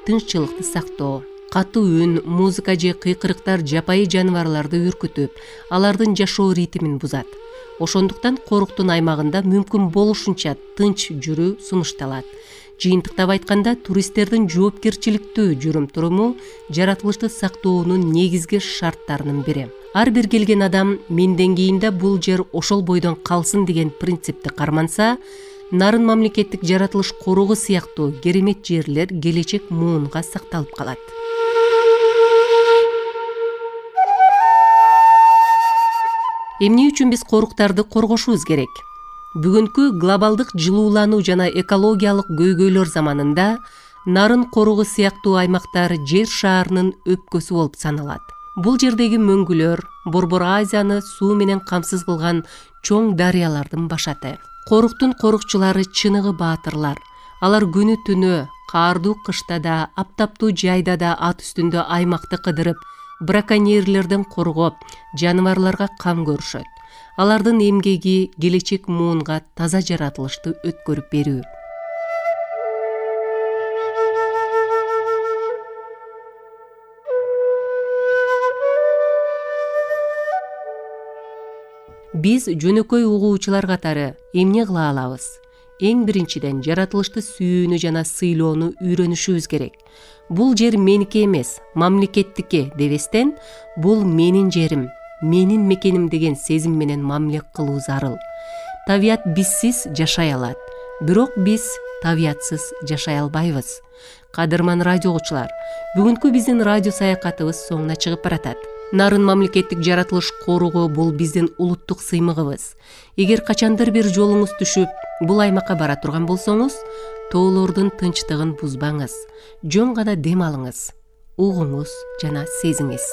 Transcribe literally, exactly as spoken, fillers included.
тынччылыкты сактоо. Катуу үн, музыка же кыйкырыктар жапайы жаныбарларды үркүтүп, алардын жашоо ритмин бузат. Ошондуктан коруктун аймагында мүмкүн болушунча тынч жүрүү сунушталат. Жыйынтыктап айтканда, туристтердин жоопкерчиликтүү жүрүм-туруму жаратылышты сактоонун негизги шарттарынын бири. Ар бир келген адам менден кийинде бул жер ошол бойдон калсын деген принципти карманса, Нарын мамлекеттик жаратылыш коругу сыяктуу керемет жерлер келечек муунга сакталып калат. Эмне үчүн биз коруктарды коргошубуз керек? Бүгүнкү глобалдык жылуулануу жана экологиялык көйгөйлөр заманында Нарын коругу сыяктуу аймактар жер шаарынын өпкөсү болуп саналат. Бул жердеги мөңгүлөр Борбор Азияны суу менен камсыз кылган чоң дарыялардын башаты. Коруктун корукчулары чыныгы баатырлар. Алар күнү түнү, каардуу кышта да, аптаптуу жайда да ат үстүндө аймакты кыдырып, браконьерлерден коргоп, жаныбарларга кам көрүшөт. Алардын эмгеги келечек муунга таза жаратылышты өткөрүп берүү. Биз жөнөкөй угуучулар катары эмне кыла алабыз? Эң биринчиден жаратылышты сүйүүнү жана сыйлоону үйрөнүшүбүз керек. Бул жер меники эмес, мамлекеттики дебестен, бул менин жерим, менин мекеним деген сезим менен мамиле кылуу зарыл. Табият бизсиз жашай алат, бирок биз табиятсыз жашай албайбыз. Кадырман радио угуучулар, бүгүнкү биздин радио саякатыбыз соңуна чыгып баратат. Нарын мамлекеттик жаратылыш коругу бул биздин улуттук сыймыгыбыз. Эгер качандыр бир жолуңуз түшүп, бул аймакка бара турган болсоңуз, тоолордун тынчтыгын бузбаңыз. Жөн гана дем алыңыз, угуңуз жана сезиңиз.